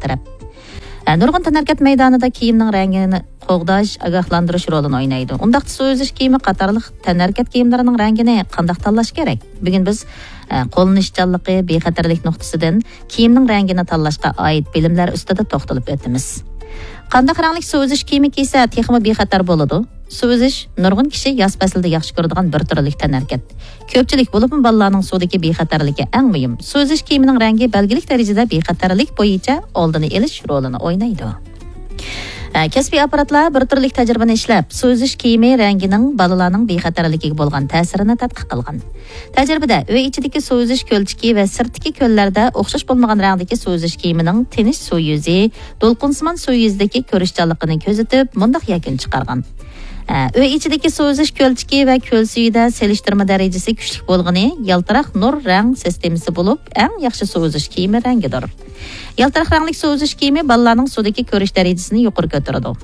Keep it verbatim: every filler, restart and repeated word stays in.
تەرەپ. ئە، نۇرغۇن تەنھەرىكەت مەيدانىدا كىيىمنىڭ رەڭگىنى قوغداش، ئاگاھلاندۇرۇش رولىنى ئوينايدۇ. ئۇنداقتا سۇ ئۈزۈش كىيىمى قاتارلىق تەنھەرىكەت كىيىملىرىنىڭ رەڭگىنى قانداق تاللاش كېرەك؟ بۈگۈن بىز، ئە، قوللىنىشچانلىقى، بىخەتەرلىك نۇقتىسىدىن كىيىمنىڭ رەڭگىنى تاللاشقا ئائىت بىلىملەر ئۈستىدە توختىلىپ ئۆتىمىز. قانداق رەڭلىك سۇ ئۈزۈش كىيىمى كىيسە تېخىمۇ بىخەتەر بولىدۇ؟ سۇ ئۈزۈش نۇرغۇن كىشى ياز پەسلىدە ياخشى كۆرىدىغان بىر تۈرلۈك تەنھەرىكەت. كۆپچىلىك، بولۇپمۇ بالىلارنىڭ سۇدىكى بىخەتەرلىكى ئەڭ مۇھىم. سۇ ئۈزۈش كىيىمىنىڭ رەڭگى بەلگىلىك دەرىجىدە بىخەتەرلىك بويىچە ئالدىنى ئېلىش رولىنى ئوينايدۇ. ئە، كەسپىي ئاپپاراتلار بىر تۈرلۈك تەجرىبىنى ئىشلەپ، سۇ ئۈزۈش كىيىمى رەڭگىنىڭ بالىلارنىڭ بىخەتەرلىكىگە بولغان تەسىرىنى تەتقىق قىلغان. تەجرىبىدە ئۆي ئىچىدىكى سۇ ئۈزۈش كۆلچىكى ۋە سىرتتىكى كۆللەردە ئوخشاش بولمىغان رەڭدىكى سۇ ئۈزۈش كىيىمىنىڭ تىنچ سۇ يۈزى، دولقۇنسىمان سۇ يۈزىدىكى كۆرۈشچانلىقىنى كۆزىتىپ، مۇنداق يەكۈن چىقارغان. ئە، ئۆي ئىچىدىكى سۇ ئۈزۈش كۆلچىكى ۋە كۆل سۈيىدە سېلىشتۇرما دەرىجىسى كۈچلۈك بولغىنى يالتىراق نۇر رەڭ سىستېمىسى بولۇپ، ئەڭ ياخشى سۇ ئۈزۈش كىيىمى رەڭگىدۇر. يالتىراق رەڭلىك سۇ ئۈزۈش كىيىمى بالىلارنىڭ سۇدىكى كۆرۈش دەرىجىسىنى يۇقىرى كۆتۈرىدۇ.